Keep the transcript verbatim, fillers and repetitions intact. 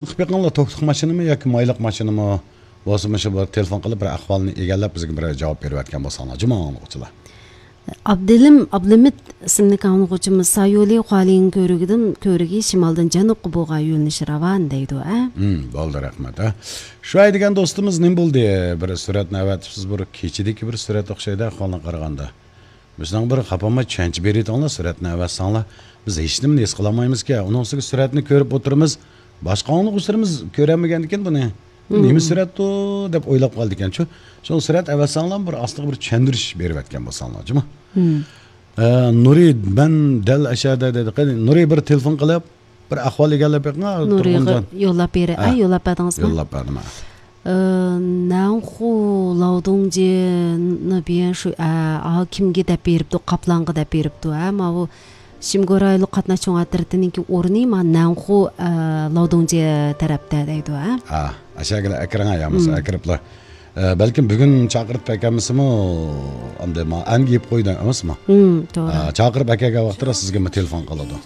قىلىپ بېقىڭلار، توكلۇق ماشىنىمۇ ياكى مايلىق ماشىنىمۇ بولسا، مۇشۇ بىر تېلېفون قىلىپ، بىر ئەھۋالنى ئىگىلەپ، بىزگە بىر جاۋاب بېرىۋەتكەن بولساڭلار جۇمۇ ئاڭلىغۇچىلار. ئابدىلىم ئابلىمىت ئىسىملىك ئاڭلىغۇچىمىز سايولى خۇالىڭ كۆۋرۈكىدىن، كۆۋرۈكى شىمالدىن جەنۇبقا بولغان يۆنىلىش راۋان دەيدۇ، ھە؟ ھىم، بولدى، رەھمەت، ھە. شۇ ئاي دېگەن دوستىمىز نېمە بولدى؟ بىر سۈرەتنى ئەۋەتىپسىز، بىر كېچىدىكى بىر سۈرەت ئوخشايدۇ، ئەھۋالنى قارىغاندا. مۇشۇنىڭغا بىر خاپا بولماي چۈشەنچە بېرىۋېتىڭلار، سۈرەتنى ئەۋەتسەڭلار. بىز ھېچنېمىنى ھېس قىلالمايمىزكەن. ئۇنىڭ ئۈستىگە سۈرەتنى كۆرۈپ ئولتۇرىمىز، باشقا ئاڭلىغۇچىلىرىمىز كۆرەلمىگەندىكىن بۇنى. مم. نېمە سۈرەتتۇ دەپ ئويلاپ قالىدىكەن شۇ. شۇ سۈرەت ئەۋەتسەڭلار بىر ئاستىغا بىر چۈشەندۈرۈش بېرىۋەتكەن بولساڭلار جۇمۇ. مم. ئە، نۇرى، مەن دەل ئەشەدە دېدى. قېنى، نۇرى بىر تېلېفون قىلىپ، بىر ئەھۋال ئىگىلەپ بېقىڭا، نۇرىغا تۇرغۇنجان. يوللاپ بېرە-، ئە، ھە، يوللاپ بەردىڭىزمۇ؟ يوللاپ بەردىم، ھە. ئە، نەنخۇ لاۋدۇڭجېنى بىيەن شۇ، ئە، ئا، كىمگە دەپ بېرىپتۇ؟ قاپلانغا دەپ بېرىپتۇ، ھە؟ ماۋۇ شىمگو رايونلۇق قاتناش چوڭ ئەترىتىنىڭكى ئورنى ما نەنخۇ، ئە، لاۋدۇڭجې تەرەپتە دەيدۇ، ھە؟ ھە، ئەشەگىلا ئەكىرىڭە يا بولمىسا، مم. ئەكىرىپلا. ئە، بەلكىم بۈگۈن چاقىرتىپ ئەكەلمىسىمۇ، ئەمدى ما ئەنگە يېپىپ قويدى ئەمەسمۇ؟ مم، توغرا. ئە، چاقىرىپ ئەكەلگەن ۋاقتىدا سىزگە تېلېفون قىلىدۇ.